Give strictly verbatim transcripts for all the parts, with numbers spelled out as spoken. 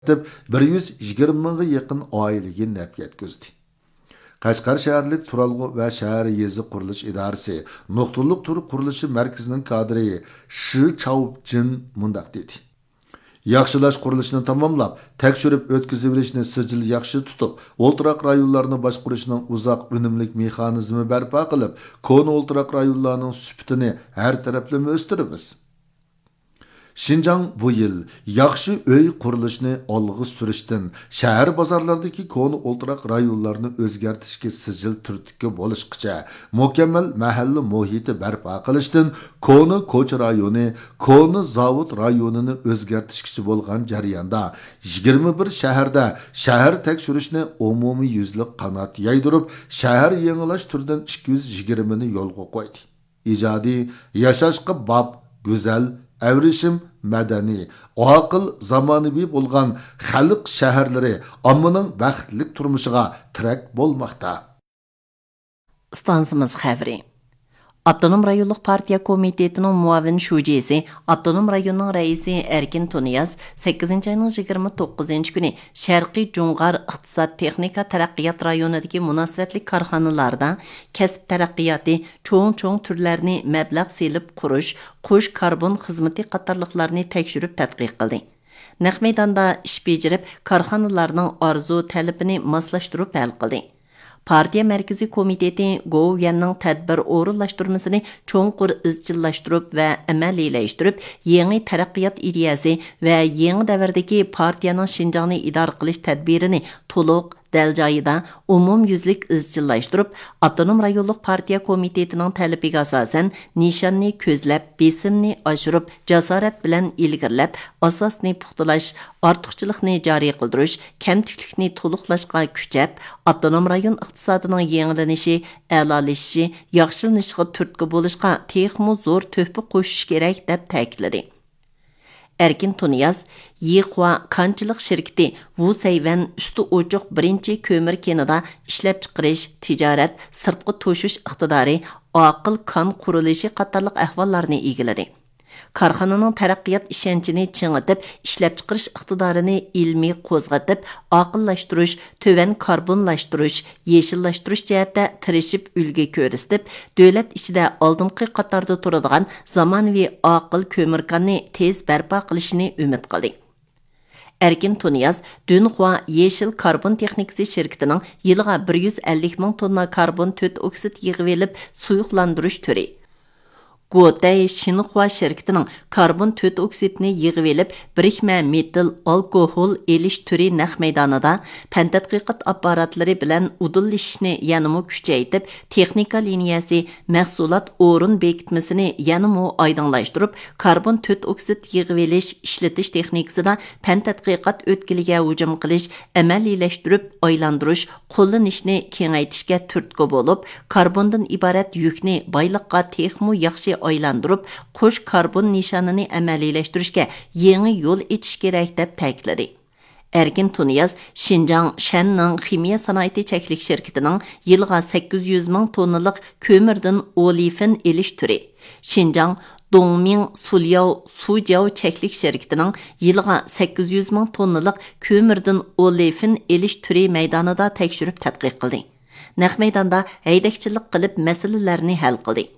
بىر يۈز يىگىرمە مىڭغا يېقىن ئائىلىگە نەپ يەتكۈزدى. قەشقەر شەھەرلىك تۇرالغۇ ۋە شەھەر يېزا قۇرۇلۇش ئىدارىسى نۇقتىلىق تۈر قۇرۇلۇشى مەركىزىنىڭ كادىرى شى چاۋجىن مۇنداق دېدى: ياخشىلاش قۇرۇلۇشىنى تاماملاپ، تەكشۈرۈپ ئۆتكۈزۈۋېلىشنى سىجىل ياخشى تۇتۇپ، ئولتۇراق رايونلارنى باشقۇرۇشنىڭ ئۇزاق ئۈنۈملۈك مېخانىزمى بەرپا قىلىپ، كونا ئولتۇراق رايونلارنىڭ سۈپىتىنى ھەر تەرەپلىمە ئۆستۈرىمىز. شىنجاڭ بۇ يىل ياخشى ئۆي قۇرۇلۇشىنى ئالغا سۈرۈشتىن، شەھەر بازارلىرىدىكى كونا ئولتۇراق رايونلارنى ئۆزگەرتىشكە سىجىل تۈرتكە بولۇشقىچە، مۇكەممەل مەھەللە مۇھىتى بەرپا قىلىشتىن، كونا كوچا رايونى، كونا زاۋۇت رايونىنى ئۆزگەرتىشكىچە بولغان جەرياندا، يىگىرمە بىر شەھەردە شەھەر تەكشۈرۈشنى ئومۇميۈزلۈك قانات يايدۇرۇپ، شەھەر يېڭىلاش تۈرىدىن ئىككى يۈز يىگىرمىنى يولغا قويدى. ئىجادىي، ياشاشقا باب، گۈزەل، ئەۋرىشىم، مەدەنىي، ئاقىل، زامانىۋى بولغان خەلق شەھەرلىرى ئاممىنىڭ بەختلىك تۇرمۇشىغا تىرەك بولماقتا. ئىستانسىمىز خەۋىرى. ئاپتونوم رايونلۇق پارتىيە كومىتېتىنىڭ مۇئاۋىن شۇجىسى، ئاپتونوم رايوننىڭ رەئىسى ئەركىن تۇنىياز سەككىزىنچى ئاينىڭ يىگىرمە توققۇزىنچى كۈنى شەرقىي جۇڭغار ئىقتىساد تېخنىكا تەرەققىيات رايونىدىكى مۇناسىۋەتلىك كارخانىلاردا كەسىپ تەرەققىياتى، چوڭ-چوڭ تۈرلەرنى مەبلەغ سېلىپ قۇرۇش، قوش كاربون خىزمىتى قاتارلىقلارنى تەكشۈرۈپ تەتقىق قىلدى. نەق مەيداندا ئىش بېجىرىپ، كارخانىلارنىڭ ئارزۇ تەلىپىنى ماسلاشتۇرۇپ ھەل قىلدى. پارتىيە مەركىزىي كومىتېتى گوۋۇيۈەننىڭ تەدبىر ئورۇنلاشتۇرمىسىنى چوڭقۇر ئىزچىللاشتۇرۇپ ۋە ئەمەلىيلەشتۈرۈپ، يېڭى تەرەققىيات ئىدىيەسى ۋە يېڭى دەۋردىكى پارتىيەنىڭ شىنجاڭنى ئىدارە قىلىش تەدبىرىنى تولۇق، دەل جايىدا، ئومۇميۈزلۈك ئىزچىللاشتۇرۇپ، ئاپتونوم رايونلۇق پارتىيە كومىتېتىنىڭ تەلىپىگە ئاساسەن، نىشاننى كۆزلەپ، بېسىمنى ئاشۇرۇپ، جاسارەت بىلەن ئىلگىرىلەپ، ئاساسنى پۇختىلاش، ئارتۇقچىلىقنى جارى قىلدۇرۇش، كەمتۈكلۈكنى تولۇقلاشقا كۈچەپ، ئاپتونوم رايون ئىقتىسادىنىڭ يېڭىلىنىشى، ئەلالىشىشى، ياخشىلىنىشىغا تۈرتكە بولۇشقا تېخىمۇ زور تۆھپە قوشۇش كېرەك، دەپ تەكىتلىدى. ئەركىن تۇنىياز يىخۇا كانچىلىق شىركىتى ۋۇسەيۋەن ئۈستى ئوچۇق بىرىنچى كۆمۈر كېنىدا ئىشلەپچىقىرىش، تىجارەت، سىرتقا توشۇش ئىقتىدارى، ئاقىل كان قۇرۇلۇشى قاتارلىق ئەھۋاللارنى ئىگىلىدى. كارخانىنىڭ تەرەققىيات ئىشەنچىنى چىڭىتىپ، ئىشلەپچىقىرىش ئىقتىدارىنى ئىلمىي قوزغىتىپ، ئاقىللاشتۇرۇش، تۆۋەن كاربونلاشتۇرۇش، يېشىللاشتۇرۇش جەھەتتە تىرىشىپ ئۈلگە كۆرسىتىپ، دۆلەت ئىچىدە ئالدىنقى قاتاردا تۇرىدىغان زامانىۋى ئاقىل كۆمۈركاننى تېز بەرپا قىلىشىنى ئۈمىد قىلدى. ئەركىن تۇنىياز دۈنخۇا يېشىل كاربون تېخنىكىسى شىركىتىنىڭ يىلىغا بىر يۈز ئەللىك مىڭ توننا كاربون تۆت ئوكسىد يىغىۋېلىپ سۇيۇقلاندۇرۇش تۈرى، گوتەي شىنخۇا شىركىتىنىڭ كاربون تۆت ئوكسىدنى يىغىۋېلىپ، بىرىكمە مېتىل ئالكوھول ئېلىش تۈرى نەق مەيدانىدا پەن تەتقىقات ئاپپاراتلىرى بىلەن ئۇدۇللىشىشنى يەنىمۇ كۈچەيتىپ، تېخنىكا لىنىيەسى، مەھسۇلات ئورۇن بېكىتمىسىنى يەنىمۇ ئايدىڭلاشتۇرۇپ، كاربون تۆت ئوكسىد يىغىۋېلىش، ئىشلىتىش تېخنىكىسىدا پەن تەتقىقات ئۆتكىلىگە ھۇجۇم قىلىش، ئەمەلىيلەشتۈرۈپ ئايلاندۇرۇش، قوللىنىشنى كېڭەيتىشكە تۈرتكە بولۇپ، كاربوندىن ئىبارەت يۈكنى بايلىققا تېخىمۇ ياخشى ئايلاندۇرۇپ، قوش كاربون نىشانىنى ئەمەلىيلەشتۈرۈشكە يېڭى يول ئېچىش كېرەك، دەپ تەكىتلىدى. ئەركىن تۇنىياز شىنجاڭ شەننىڭ خىمىيە سانائىتى چەكلىك شىركىتىنىڭ يىلىغا سەككىز يۈز مىڭ توننىلىق كۆمۈردىن ئولېفىن ئېلىش تۈرى، شىنجاڭ دۇڭمىڭ سۇلياۋ سۇجياۋ چەكلىك شىركىتىنىڭ يىلىغا سەككىز يۈز مىڭ توننىلىق كۆمۈردىن ئولېفىن ئېلىش تۈرى مەيدانىدا تەكشۈرۈپ تەتقىق قىلدى. نەق مەيداندا ھەيدەكچىلىك قىلىپ مەسىلىلەرنى ھەل قىلدى.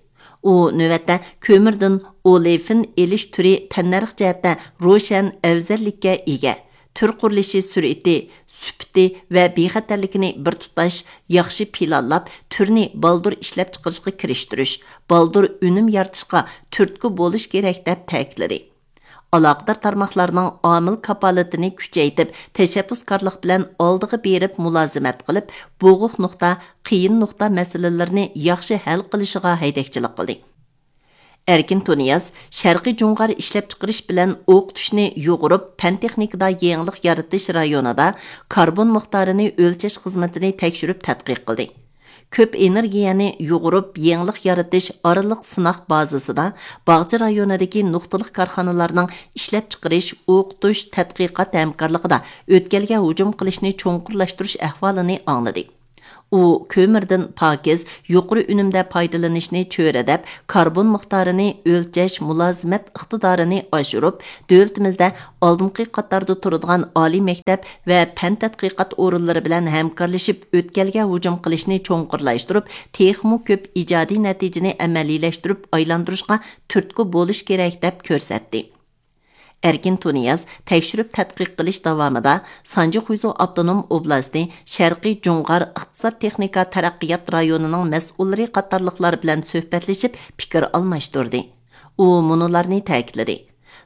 ئۇ نۆۋەتتە كۆمۈردىن ئولېفىن ئېلىش تۈرى تەننەرخ جەھەتتە روشەن ئەۋزەللىككە ئىگە. تۈر قۇرۇلۇشى سۈرئىتى، سۈپىتى ۋە بىخەتەرلىكىنى بىر تۇتاش ياخشى پىلانلاپ، تۈرنى بالدۇر ئىشلەپچىقىرىشقا كىرىشتۈرۈش، بالدۇر ئۈنۈم يارىتىشقا تۈرتكە بولۇش كېرەك، دەپ تەكىتلىدى. ئالاقىدار تارماقلارنىڭ ئامىل كاپالىتىنى كۈچەيتىپ، تەشەببۇسكارلىق بىلەن ئالدىغا بېرىپ مۇلازىمەت قىلىپ، بوغۇق نۇقتا، قىيىن نۇقتا مەسىلىلىرىنى ياخشى ھەل قىلىشىغا ھەيدەكچىلىك قىلدى. ئەركىن تۇنىياز شەرقىي جۇڭغار ئىشلەپچىقىرىش بىلەن ئوقۇتۇشنى يۇغۇرۇپ، پەن تېخنىكىدا يېڭىلىق يارىتىش رايونىدا كاربون مىقدارىنى ئۆلچەش خىزمىتىنى تەكشۈرۈپ تەتقىق قىلدى. كۆپ ئېنېرگىيەنى يۇغۇرۇپ، يېڭىلىق يارىتىش ئارىلىق سىناق بازىسىدا باغچە رايونىدىكى نۇقتىلىق كارخانىلارنىڭ ئىشلەپچىقىرىش، ئوقۇتۇش، تەتقىقات ھەمكارلىقىدا ئۆتكەلگە ھۇجۇم قىلىشنى چوڭقۇرلاشتۇرۇش ئەھۋالىنى ئاڭلىدى. ئۇ كۆمۈردىن پاكىز، يۇقىرى ئۈنۈمدە پايدىلىنىشنى چۆرىدەپ، كاربون مىقدارىنى ئۆلچەش مۇلازىمەت ئىقتىدارىنى ئاشۇرۇپ، دۆلىتىمىزدە ئالدىنقى قاتاردا تۇرىدىغان ئالىي مەكتەپ ۋە پەن تەتقىقات ئورۇنلىرى بىلەن ھەمكارلىشىپ، ئۆتكەلگە ھۇجۇم قىلىشنى چوڭقۇرلاشتۇرۇپ، تېخىمۇ كۆپ ئىجادىي نەتىجىنى ئەمەلىيلەشتۈرۈپ ئايلاندۇرۇشقا تۈرتكە بولۇش كېرەك، دەپ كۆرسەتتى. ئەركىن تۇنىياز تەكشۈرۈپ تەتقىق قىلىش داۋامىدا سانجى خۇيزۇ ئاپتونوم ئوبلاستى شەرقىي جۇڭغار ئىقتىساد تېخنىكا تەرەققىيات رايونىنىڭ مەسئۇللىرى قاتارلىقلار بىلەن سۆھبەتلىشىپ پىكىر ئالماشتۇردى. ئۇ مۇنۇلارنى تەكىتلىدى: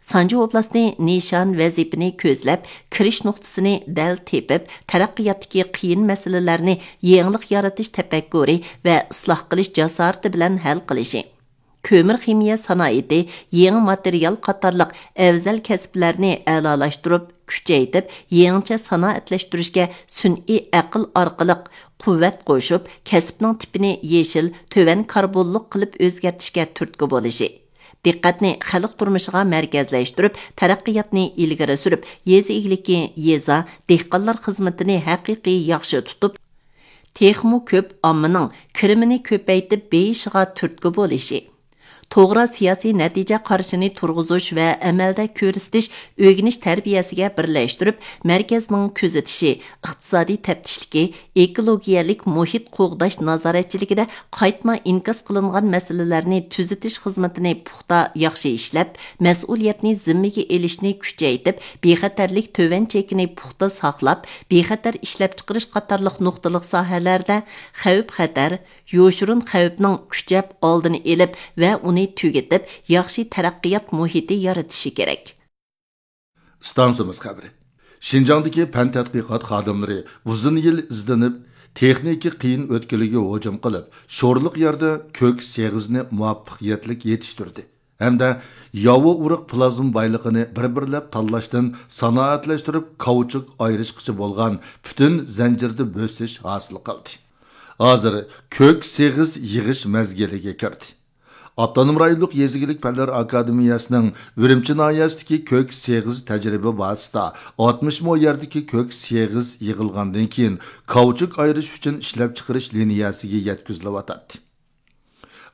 سانجى ئوبلاستى نىشان ۋەزىپىنى كۆزلەپ، كىرىش نۇقتىسىنى دەل تېپىپ، تەرەققىياتتىكى قىيىن مەسىلىلەرنى يېڭىلىق يارىتىش تەپەككۇرى ۋە ئىسلاھ قىلىش جاسارىتى بىلەن ھەل قىلىشى، كۆمۈر خىمىيە سانائىتى، يېڭى ماتېرىيال قاتارلىق ئەۋزەل كەسىپلەرنى ئەلالاشتۇرۇپ، كۈچەيتىپ، يېڭىچە سانائەتلەشتۈرۈشكە سۈنئىي ئەقىل ئارقىلىق قۇۋۋەت قوشۇپ، كەسىپنىڭ تىپىنى يېشىل، تۆۋەن كاربونلۇق قىلىپ ئۆزگەرتىشكە تۈرتكە بولۇشى، دىققەتنى خەلق تۇرمۇشىغا مەركەزلەشتۈرۈپ، تەرەققىياتنى ئىلگىرى سۈرۈپ، يېزا ئىگىلىكى، يېزا، دېھقانلار خىزمىتىنى ھەقىقىي ياخشى تۇتۇپ، تېخىمۇ كۆپ ئاممىنىڭ كىرىمىنى كۆپەيتىپ بېيىشىغا تۈرتكە بولۇشى، توغرا سىياسىي نەتىجە قارىشىنى تۇرغۇزۇش ۋە ئەمەلدە كۆرسىتىش ئۆگىنىش تەربىيەسىگە بىرلەشتۈرۈپ، مەركەزنىڭ كۆزىتىشى، ئىقتىسادىي تەپتىشلىكى، ئېكولوگىيەلىك مۇھىت قوغداش نازارەتچىلىكىدە قايتما ئىنكاس قىلىنغان مەسىلىلەرنى تۈزىتىش خىزمىتىنى پۇختا ياخشى ئىشلەپ، مەسئۇلىيەتنى زىممىگە ئېلىشنى كۈچەيتىپ، بىخەتەرلىك تۆۋەن چېكىنى پۇختا ساقلاپ، بىخەتەر ئىشلەپچىقىرىش قاتارلىق نۇقتىلىق ساھەلەردە خەۋپ-خەتەر، يوشۇرۇن خەۋپنىڭ كۈچەپ ئالدىنى ئېلىپ ۋە ئۇنى تۈگىتىپ، ياخشى تەرەققىيات مۇھىتى يارىتىشى كېرەك. ئىستانسىمىز خەۋىرى. شىنجاڭدىكى پەن تەتقىقات خادىملىرى ئۇزۇن يىل ئىزدىنىپ، تېخنىكا قىيىن ئۆتكىلىگە ھۇجۇم قىلىپ، شورلۇق يەردە كۆك سېغىزنى مۇۋەپپەقىيەتلىك يېتىشتۈردى ھەمدە ياۋا ئۇرۇق پلازما بايلىقىنى بىر-بىرلەپ تاللاشتىن سانائەتلەشتۈرۈپ، كاۋچۇك ئايرىشقىچە بولغان پۈتۈن زەنجىردە بۆسۈش ھاسىل قىلدى. ھازىر كۆك سېغىز يىغىش مەزگىلىگە كىردى. ئاپتونوم رايونلۇق يېزا ئىگىلىك پەنلەر ئاكادېمىيەسىنىڭ ئۈرۈمچى ناھىيەسىدىكى كۆك سېغىز تەجرىبە بازىسىدا ئاتمىش مو يەردىكى كۆك سېغىز يىغىلغاندىن كېيىن، كاۋچۇك ئايرىش ئۈچۈن ئىشلەپچىقىرىش لىنىيەسىگە يەتكۈزۈلۈۋاتاتتى.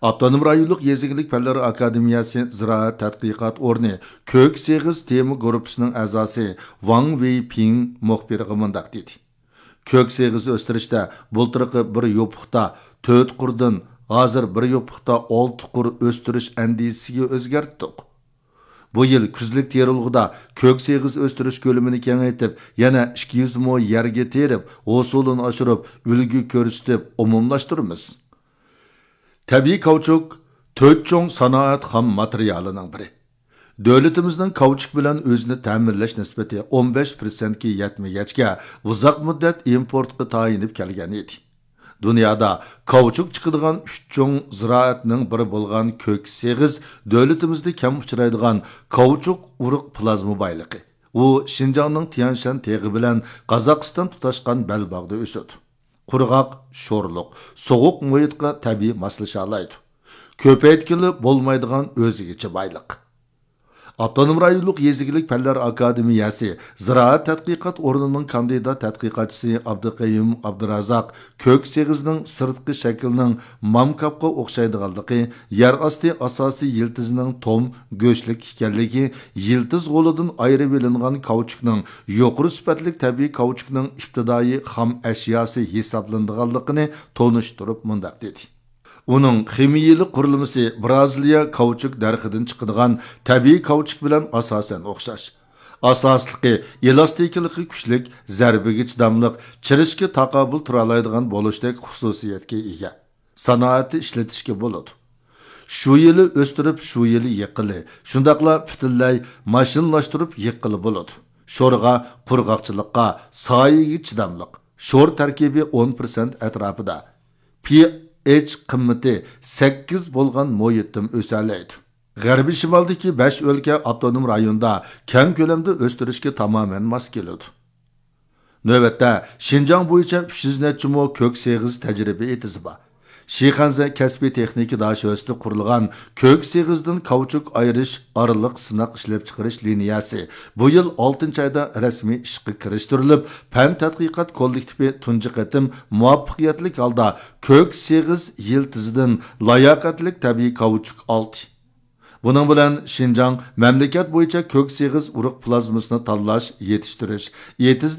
ئاپتونوم رايونلۇق يېزا ئىگىلىك پەنلەر ئاكادېمىيەسى زىرائەت تەتقىقات ئورنى كۆك سېغىز تېما گۇرۇپپىسىنىڭ ئەزاسى ۋاڭ ۋېيپىڭ مۇخبىرغا مۇنداق دېدى: كۆك سېغىز ئۆستۈرۈشتە بۇلتۇرقى بىر يوپۇقتا تۆت قۇردىن ھازىر بىر يوپۇقتا ئالتە قۇر ئۆستۈرۈش ئەندىزىسىگە ئۆزگەرتتۇق. بۇ يىل كۈزلۈك تېرىلغۇدا كۆك سېغىز ئۆستۈرۈش كۆلىمىنى كېڭەيتىپ، يەنە ئىككى يۈز مو يەرگە تېرىپ، ھوسۇلىنى ئاشۇرۇپ، ئۈلگە كۆرسىتىپ ئومۇملاشتۇرىمىز. تەبىئىي كاۋچۇك تۆت چوڭ سانائەت خام ماتېرىيالىنىڭ بىرى. دۆلىتىمىزنىڭ كاۋچۇك بىلەن ئۆزىنى تەمىنلەش نىسبىتى ئون بەش پىرسەنتكە يەتمىگەچكە، ئۇزاق مۇددەت ئىمپورتقا تايىنىپ كەلگەن ئىدى. دۇنيادا كاۋچۇك چىقىدىغان ئۈچ چوڭ زىرائەتنىڭ بىرى بولغان كۆك سېغىز دۆلىتىمىزدە كەم ئۇچرايدىغان كاۋچۇك ئۇرۇق پلازما بايلىقى. ئۇ شىنجاڭنىڭ تيەنشان تېغى بىلەن قازاقىستان تۇتاشقان بەلباغدا ئۆسىدۇ. قۇرغاق، شورلۇق، سوغۇق مۇھىتقا تەبىئىي ماسلىشالايدۇ. كۆپەيتكىلى بولمايدىغان ئۆزگىچە بايلىق. ئاپتونوم رايونلۇق يېزا ئىگىلىك پەنلەر ئاكادېمىيەسى زىرائەت تەتقىقات ئورنىنىڭ كاندىدات تەتقىقاتچىسى ئابدۇقەييۇم ئابدۇرازاق كۆك سېغىزنىڭ سىرتقى شەكلىنىڭ مامكاپقا ئوخشايدىغانلىقى، يەر ئاستى ئاساسىي يىلتىزىنىڭ توم، گۆشلۈك ئىكەنلىكى، يىلتىز غولىدىن ئايرىۋېلىنغان كاۋچۇكنىڭ يۇقىرى سۈپەتلىك تەبىئىي كاۋچۇكنىڭ ئىپتىدائىي خام ئەشياسى ھېسابلىنىدىغانلىقىنى تونۇشتۇرۇپ مۇنداق دېدى: ئۇنىڭ خىمىيىلىك قۇرۇلمىسى برازىلىيە كاۋچۇك دەرىخىدىن چىقىدىغان تەبىئىي كاۋچۇك بىلەن ئاساسەن ئوخشاش. ئاساسلىقى، ئېلاستىكىلىقى كۈچلۈك، زەربىگە چىداملىق، چىرىشكە تاقابىل تۇرالايدىغان بولۇشتەك خۇسۇسىيەتكە ئىگە. سانائەتتە ئىشلىتىشكە بولىدۇ. شۇ يىلى ئۆستۈرۈپ، شۇ يىلى يىغقىلى، شۇنداقلا پۈتۈنلەي ماشىنىلاشتۇرۇپ يىغقىلى بولىدۇ. شورغا، قۇرغاقچىلىققا، سايىگە چىداملىق. شور تەركىبى ئون پىرسەنت ئەتراپىدا. پىئېچ قىممىتى سەككىز بولغان مۇھىتتىمۇ ئۆسەلەيدۇ. غەربىي شىمالدىكى بەش ئۆلكە ئاپتونوم رايوندا كەڭ كۆلەمدە ئۆستۈرۈشكە تامامەن ماس كېلىدۇ. نۆۋەتتە شىنجاڭ بويىچە ئۈچ يۈز نەچچە مو كۆك سېغىز تەجرىبە ئېتىزى بار. شىخەنزە كەسپىي تېخنىكا داشۆسىدە قۇرۇلغان كۆك سېغىزدىن كاۋچۇك ئايرىش ئارىلىق سىناق ئىشلەپچىقىرىش لىنىيەسى بۇ يىل ئالتىنچى ئايدا رەسمىي ئىشقا كىرىشتۈرۈلۈپ، پەن تەتقىقات كوللېكتىپى تۇنجى قېتىم مۇۋەپپەقىيەتلىك ھالدا كۆك سېغىز يىلتىزىدىن لاياقەتلىك تەبىئىي كاۋچۇك ئالدى. بۇنىڭ بىلەن شىنجاڭ مەملىكەت بويىچە كۆك سېغىز ئۇرۇق پلازمىسىنى تاللاش، يېتىشتۈرۈش، ئېتىزدا